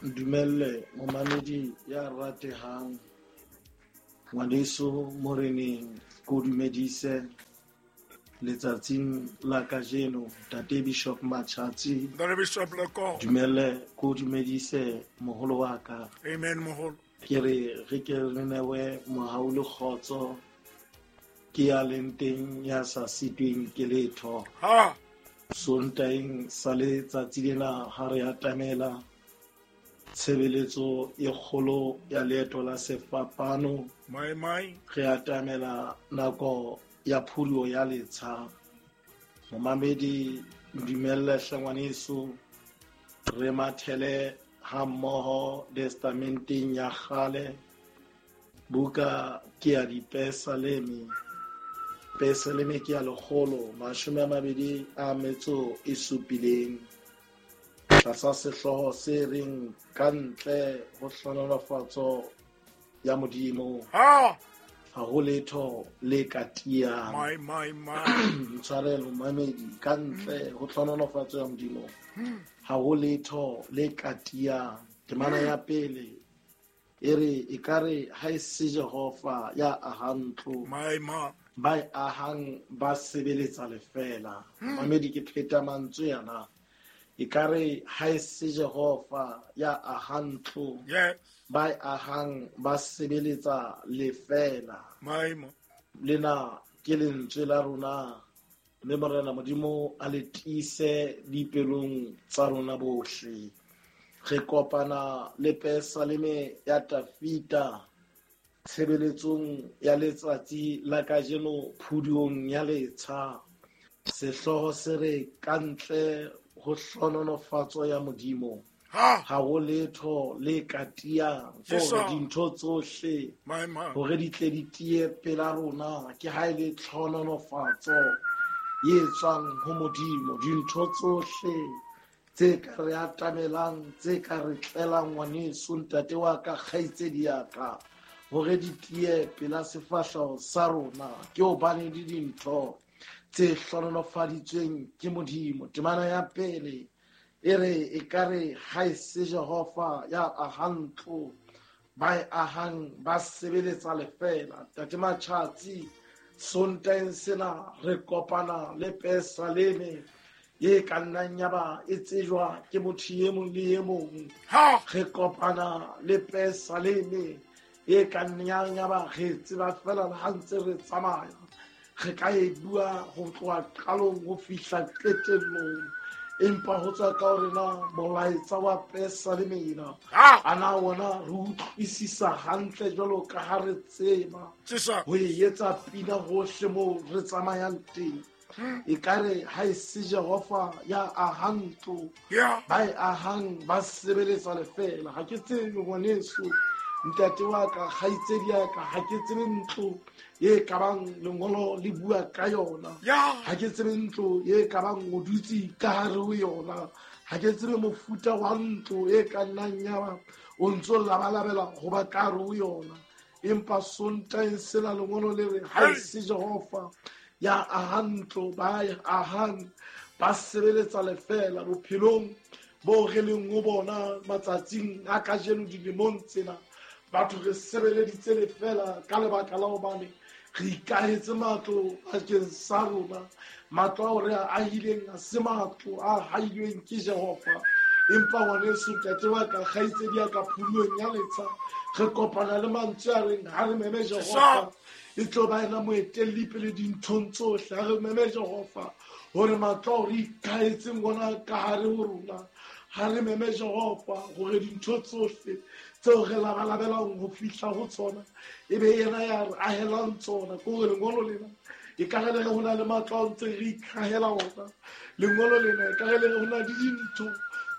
Dumelle momamedi ya ratehang ngwaneso moreneng ko dumedise letsatsing la kajeno Ntate Bishop Machatsi. Ntate Bishop Leko. Dumelle ko dumedise moholo wa ka. Amen moholo. Ke re re ke re newe mohau le kgotso ke ya leng teng ya sa sitweng ke letho. Ha. Sontaeng sa letsatsi lena ha re atamela tshebeletso e kgolo ya leeto la sefapano. Mai mai. Re atamela nako ya phuduo ya letsha. Momamedi dumelle hle ngwaneso re mathele ha mmoho testamenteng ya kgale. Buka ke ya Dipesaleme. Pesaleme ke ya 127 tlasa sehlooho se reng ka ntle ho hlohonolofatso ya Modimo. Ha ha ho letho le ka tiyang. Mai mai mai. Ntshwarelo mamedi, ka ntle ho hlohonolofatso ya Modimo ha ho letho le ka tiyang. Temana ya pele e re ekare ha e se Jehova ya ahang ntlo, mai ma ba e ahang ba sebeletsa lefela. Mamedi ke pheta mantswe yana. Ekare ha e se Jehova ya ahang ntlo, yes, ba e ahang ba sebeletsa lefela. Mai ma Lena ke lentswe la rona, mme Morena Modimo a le tiise dipelong tsa rona bohle. Re kopana le Pesaleme ya Tafita tshebeletsong ya letsatsi la kajeno phuduong ya letsha. Sehlooho se re ka ntle ho hlohonolofatso ya Modimo ha ha ho letho le ka tiyang. Hore dintho tsohle hore di tle di tiye pela rona ke ha e le tlhohonolofatso e tswang ho Modimo. Dintho tsohle tse ka re atamelang, tse ka re tlelang ngwaneso, ntate wa ka, kgaitsedi ya ka, hore di tiye pela sefahleho sa rona ke hobane di dintho tse hlohonolofaditsweng ke Modimo. Temana ya pele e re ekare ha e se Jehova ya ahang ntlo, ba e ahang ba sebeletsa lefela. Ntate Machatsi, Sontaeng sena re kopana le Pesaleme e ka nnang ya ba e tsejwa ke motho e mong le e mong. Ha re kopana le Pesaleme e ka nnang ya ba re tseba fela le ha ntse re tsamaya, re ka e bua ho tloha qalong ho fihla qetellong, empa ho tswa ka hore na molaetsa wa Pesaleme ena Ha a na ona re utlwisisa hantle jwalo ka ha re tseba Tjesa. ho e etsa pina hohle moo re tsamayang teng. Ekare ha e se Jehova ya ahang ntlo, Yeah. ba e ahang ba sebeletsa lefela. Ha ke tsebe ngwaneso, ntate wa ka, kgaitsedi ya ka, ha ke tsebe ntlo e ka bang lengolo le bua ka yona. Yeah. Ha ke tsebe ntlo e ka bang o dutse ka hare ho yona. Ha ke tsebe mofuta wa ntlo e ka nnang ya ba o ntso labalabela ho ba ka hare ho yona. Empa Sontaeng sena lengolo le re ha e se Jehova ya ahang ntlo, ba e ahang ba sebeletsa lefela. Bophelong bo re leng ho bona matsatsing a kajeno, dilemong tsena, batho re sebeleditse lefela ka lebaka la hobane re ikahetse matlo bakeng sa rona. Matlo ao re a ahileng ha se matlo a hailweng ke Jehova. Empa ngwaneso, ntate wa ka, kgaitsedi ya ka, phuluong ya letsha re kopana le mantswe a reng ha re meme Jehova e tlo ba ena moetelli pele dinthong tsohle. Ha re meme Jehova hore matlo ao re ikahetseng ona ka hare ho rona, ha re meme Jehova hore dintho tsohle tseo re labalabelang ho fihla ho tsona e be yena ya re ahelang tsona. Ke hore lengolo lena e ka re le re ho na le matlo ao ntse re ikahela ona. Lengolo lena e ka re le re ho na le dintho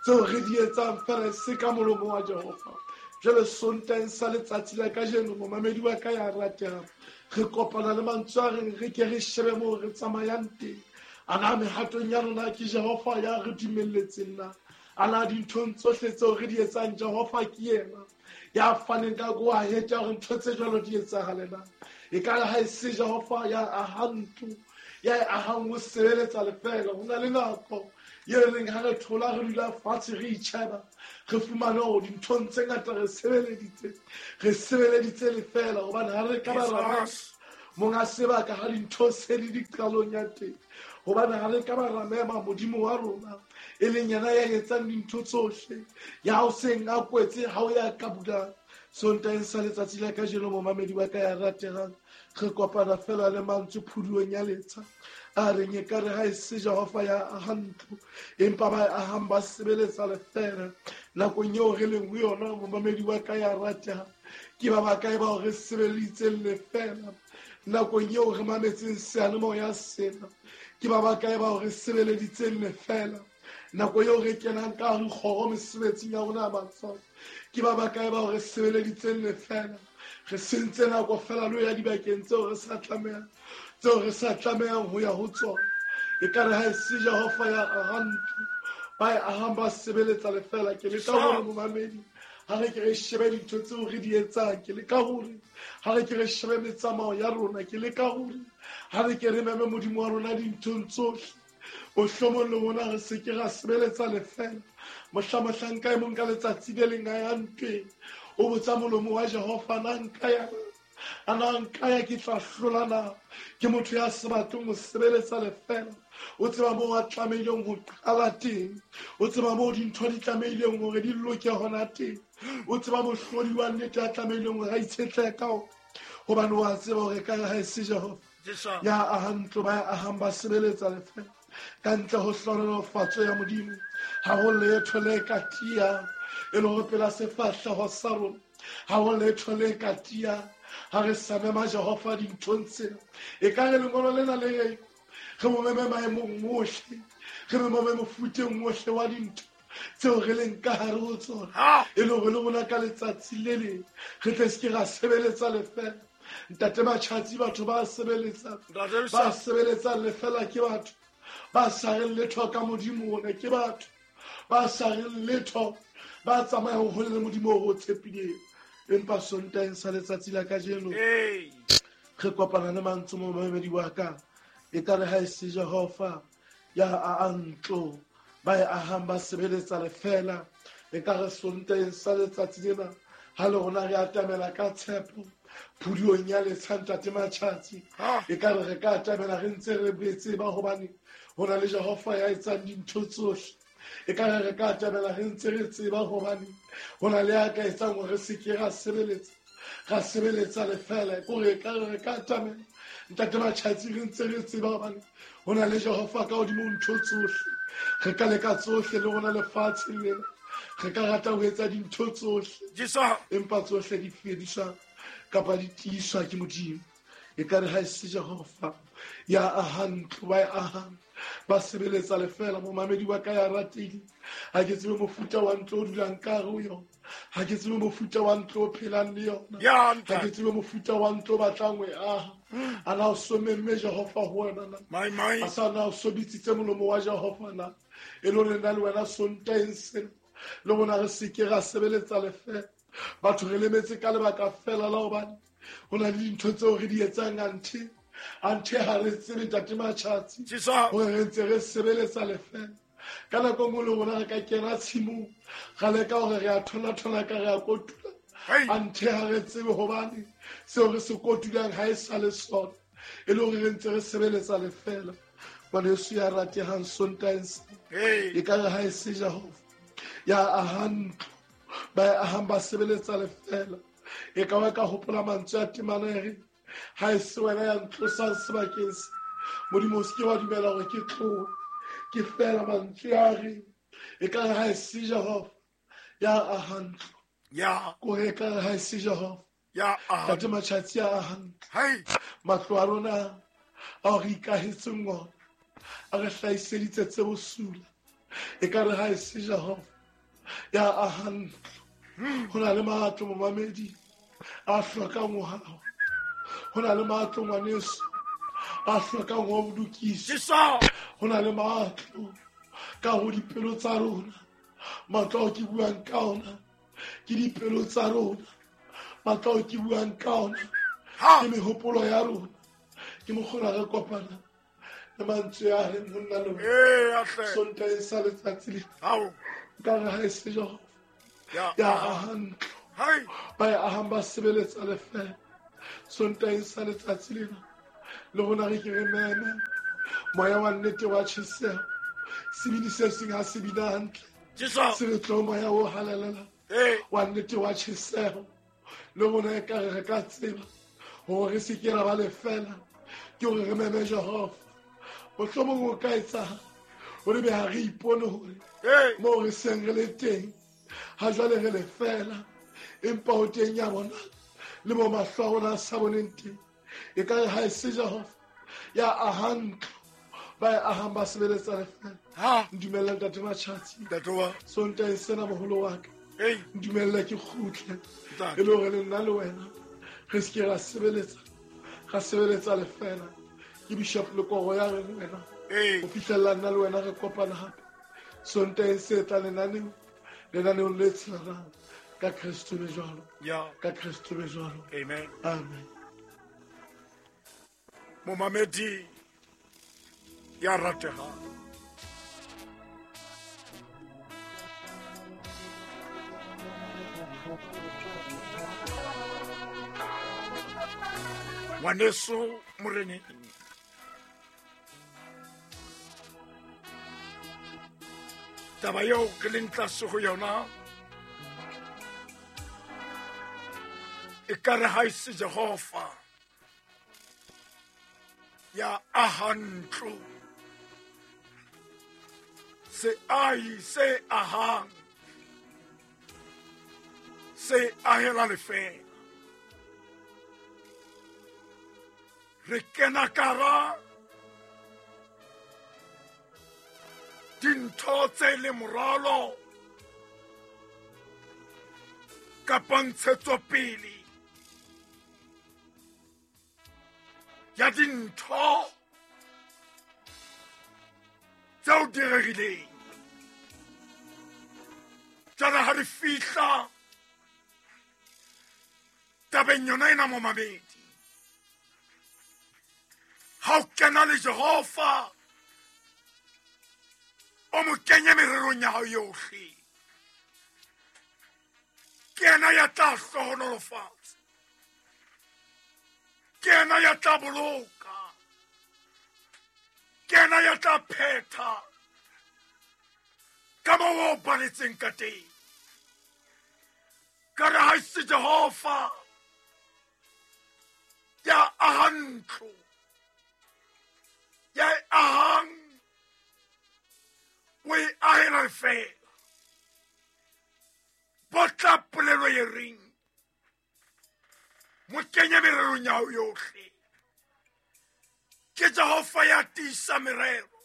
tseo re di etsang fela e se ka molomo wa Jehova. Jwale Sontaeng sa letsatsi la kajeno, momamedi wa ka ya ratehang, re kopana le mantswe a reng re ke re shebe moo re tsamayang teng. A na mehatong ya rona ke Jehova ya re dumelletseng na? A na dinthong tsohle tseo re di etsang Jehova ke yena ya faneng ka go ahetsa hore ntho tse jwalo di etsahale na? E ka re ha e se Jehova ya ahang ntlo, ya e ahang ho sebeletsa lefela. Ho na le nako Ye reng ha re thola re dula fatshe re itjheba, re fumane hore dinthong tse ngata re sebeleditse lefela, hobane ha re ka ba ra monga sebaka ha dintho se di diqalong ya teng, hobane ha re ka ba ra mema Modimo wa rona e leng yena ya etsang dintho tsohle, ya o seng a kwetse ha o ya ka bulang. Sontaheng sa letsatsi la kajeno, momamedi wa ka ya ratehang, re kopana fela le mantswe phuduong ya letsha a reng ekare ha e se Jehova ya ahang ntlo, empa ba ahang ba sebeletsa lefela. Nakong eo re leng ho yona, momamedi wa ka ya ratehang, ke ba bakae bao re sebeleditseng lefela? Nakong eo re mametseng seyalemoya sena, ke ba bakae bao re sebeleditseng lefela? Nako eo re kenang ka hare kgoro mesebetsing ya rona ya matsoho, ke ba bakae bao re sebeleditseng lefela? Re sentse nako fela le ho ya dibakeng tseo re sa tlamehang ho ya ho tsona. Ekare ha e se Jehova ya ahang ntlo, ba e ahang ba sebeletsa lefela. Ke leka hore momamedi, ha re ke re shebe dintho tseo re di etsang, ke leka hore ha re ke re shebe metsamao ya rona, ke leka hore ha re ke re meme Modimo wa rona dinthong tsohle. Mohlomong le rona re se ke ra sebeletsa lefela. Mohla mohlanka e mong ka letsatsi le leng a ya ntweng, o botsa molomo wa Jehova, na nka ya ana nka ya ke tla hlola na? Ke motho ya sa batleng ho sebeletsa lefela. O tseba moo a tlamehileng ho qala teng, o tseba moo dintho di tlamehileng hore di loke hona teng, o tseba mohlodi wa nnete a tlamehileng hore a itshetlehe ka ona, hobane wa tseba hore ka ha e se Jehova ya ahang ntlo, ba ahang ba sebeletsa lefela. Ka ntle ho hlohonolofatso ya Modimo, ha ho letho le ka tiya e le hore pela sefahleho sa rona, ha ho letho le ka tiya ha re sa mema Jehova dinthong tsena. E ka re lengolo lena le reng re mo meme maemong ohle, re mo meme mofuteng ohle wa dintho tseo re leng ka hare ho tsona, e le hore le rona ka letsatsi le leng re tle se ke ra sebeletsa lefela. Ntate Matjhatsi, batho ba sebeletsang lefela ke batho ba sa reng letho ka Modimo ona, ke batho ba sa reng letho, ba tsamayang hole le Modimo o tshepileng. Empa Sontaheng sa letsatsi la kajeno, re kopana le mantswe momamedi wa ka, ekare ha e se Jehova ya ahang ntlo, ba e ahang ba sebeletsa lefela. Ekare Sontaheng sa letsatsi lena ha le rona re atamela ka tshepo phuduong ya letsha, Ntate Matjhatsi, ekare re ka atamela re ntse re tseba hobane ho na le Jehova ya etsang dintho tsohle. Ekare re ka atamela re ntse re tseba hobane ho na le ya ka etsang hore re se ke ra sebeletsa lefela. Kore ekare re ka atamela, Ntate Matjhatsi, re ntse re tseba hobane ho na le Jehova ka hodimo ntho tsohle. Re ka leka tsohle le rona lefatsheng lena, re ka rata ho etsa dintho tsohle, empa tsohle di fediswa kapa di tiiswa ke Modimo. Ekare ha e se Jehova ya ahang ntlo, ba e ahang ba sebeletsa lefela. Momamedi wa ka ya ratehile, ha ke tsebe mofuta wa ntlo o dulang ka hare ho yona, ha ke tsebe mofuta wa ntlo o phelang le yona, ha ke tsebe mofuta wa ntlo o batlang ho e aha. A na o so memme Jehova ho wena na? A sa na o so bitsitse molomo wa Jehova na? E le hore nna le wena Sontaheng sena le rona re se ke ra sebeletsa lefela. Batho re lemetse ka lebaka fela la hobane ho na le dintho tseo re di etsang anthe ha re tsebe, Ntate Matjhatsi, hore re ntse re sebeletsa lefela. Ka nako nngwe le rona re ka kena tshimong, ra leka hore re a thola-thola ka re a kotula, anthe ha re tsebe hobane seo re se kotulang ha e sa le sona, e le hore re ntse re sebeletsa lefela. Ngwaneso ya ratehang, Sontaheng sena ekare ha e se Jehova ya ahang ntlo, ba e ahang ba sebeletsa lefela. E ka ba ka hopola mantswe a temana e reng, ha e se wena ya ntlosang sebakeng se, Modimo o se ke wa dumela hore ke tlohe. Ke fela mantswe a reng ekare ha e se Jehova ya ahang ntlo, kore ekare ha e se Jehova Ntate Matjhatsi a ahang ntlo, matlo a rona ao re ikahetseng ona a re hlahiseditse tse bosula. Ekare ha e se Jehova ya ahang ntlo, ho na le matlo momamedi a hlokang ho hawa, ho na le matlo ngwaneso a hlokang ho lokiswa, ho na le matlo ka ho dipelo tsa rona. Matlo ao ke buang ka ona ke dipelo tsa rona, matlo ao ke buang ka ona ke mehopolo ya rona, ke mokgona re kopana Le mantswe a reng ho nna le wena. Ee, hle. Sontaheng sa letsatsi lena. Ao. Nkare ha e se Jehova. Ya. Ya aha ntlo. Hai. Ba e ahang ba sebeletsa lefela. Sontaheng sa letsatsi lena. Le rona re ke re meme. Moya wa nnete wa tjheseho. Sebini se seng ha se bina hantle. Jesu. Se re tlo moya o halalelang. Ee. Wa nnete wa tjheseho. Le rona ekare re ka tseba hore re se ke ra ba lefela. Ke hore re meme Jehova. Mohlomong o ka etsahala hore be ha re ipone hore Ee. moo re seng re le teng ha jwale re lefela, empa ho teng ya bona le mo mahlo a rona a sa boneng teng. E ka re ha e se Jehova ya aha ntlo, ba e ahang ba sebeletsa lefela. Ha. Ntumelle Ntate Matjhatsi. Ntate wa. Sontaheng sena moholo wa ka. Ei. Ntumelle ke kgutle. Ntate. E le hore le nna le wena re se ke ra sebeletsa, ra sebeletsa lefela. Ke Bishop Lekoro ya reng wena. Ee. Ho fihlella nna le wena re kopana hape. Sontaheng se tla lenaneo, lenaneong le tshelelang. Ka Kristo be jwalo. Ya. Ka Kristo be jwalo. Amen. Amen. Momamedi ya ratehang. Ngwaneso moreneng. Taba eo ke leng tlase ho yona e ka re ha e se Jehova ya aha ntlo, seahi se ahang se ahela lefela. Re kena kara dintho tse le moralo kapa ntshetsopele ya dintho tseo di rerileng. Jwale ha re fihla tabeng yona ena momamedi, ha o kena le Jehova o mo kenye mererong ya hao yohle, ke yena ya tla hlohonolofatsa, ke yena ya tla boloka, ke yena ya tla phetha ka moo o baletseng ka teng. Ka re ha e se Jehova ya aha ntlo, ya e ahang o e ahela lefela. Botla polelo e reng mo kenye mererong ya hao yohle. Ke Jehova ya tiisa merero,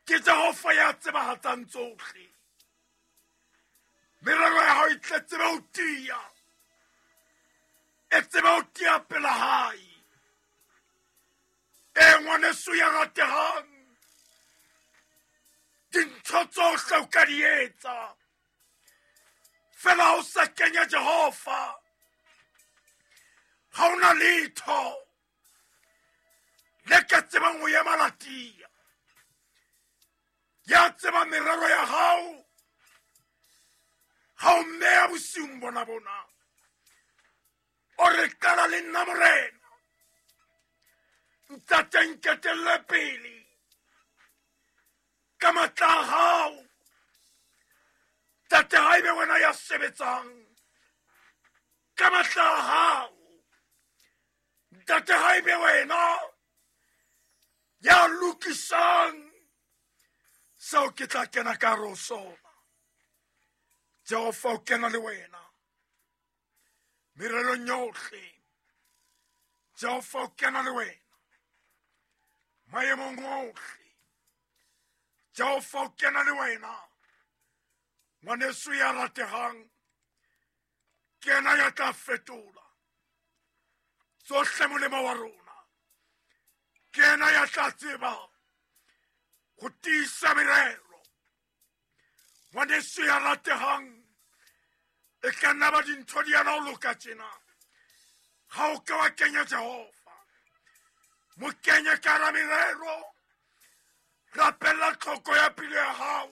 ke Jehova ya tsebahatsang tsohle. Merero ya hao e tle tsebe ho tiya, e tsebe ho tiya pela hae. E ngwaneso ya ratehang, dintho tsohle o ka di etsa fela ha o sa kenya Jehova, ha ona letho le ka tsebang ho ema la tiya. Ya tseba merero ya hao ha o mmeya bosiung bona bona, o re qala le nna Morena, ntate nketelle pele ka matla a hao. Ntate ha ebe wena ya sebetsang ka matla a hao. Ntate ha ebe wena ya lokisang seo ke tla kena ka hare ho sona. Jehova o kena le wena mererong yohle. Jehova o kena le wena maemong ohle. Jehova o kena le wena ngwaneso ya ratehang, ke yena ya tla fetola tsohle molemo wa rona. Ke yena ya tla tseba ho tiisa merero. Ngwaneso ya ratehang, e ka nna ba dintho di yana ho loka tjena, ha o ka wa kenya Jehova. Mo kenye ka hara merero. Rapella tlhoko ya pelo ya hao.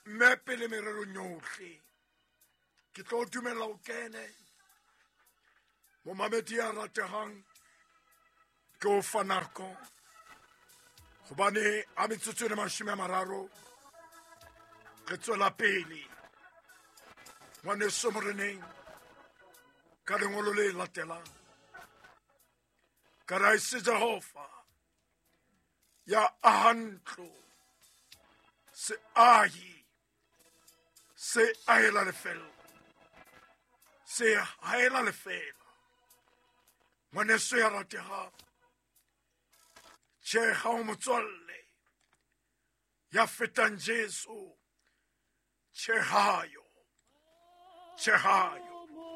Mme pele mererong yohle. Ke tlo dumella o kene. Momamedi ya ratehang, ke o fa nako. Hobane a metsotso e le 30, re tswela pele. Ngwaneso moreneng, ka lengolo le latelang. Ka ra se Jehova ya aha ntlo, se ahi, se ahela lefela, se haela lefela. Ngwaneso ya ratehang, tjhe ha o motswalle ya fetang Jesu, tjhe hayo, tjhe hayo.